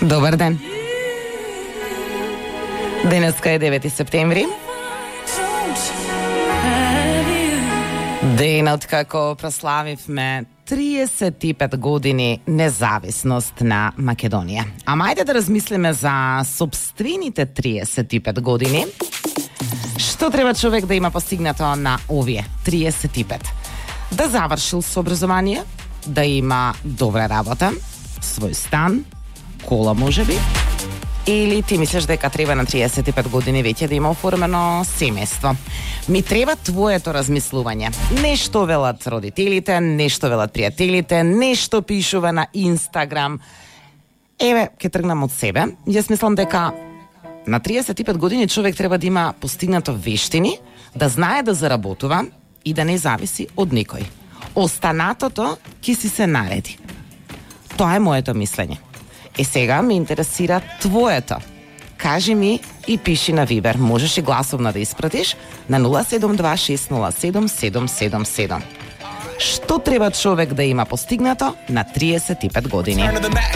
Добар ден. Денеска е 9 септември. Денот како прославивме 35 години независност на Македонија. Ама ајде да размислиме за сопствените 35 години. Што треба човек да има постигнато на овие 35? Да завршил со образование, да има добра работа, свој стан, кола можеби, или ти мислиш дека треба на 35 години веќе да има оформено семејство? Ми треба твоето размислување. Нешто велат родителите, нешто велат пријателите, нешто пишува на Инстаграм. Еве, ќе тргнам од себе. Јас мислам дека на 35 години човек треба да има постигнато вештини, да знае да заработува и да не зависи од никој. Останатото ќе си се нареди. Тоа е моето мислење. Сега ме интересира твоето. Кажи ми и пиши на Вибер. Можеш и гласовно да испратиш на 072-607-777. Што треба човек да има постигнато на 35 години?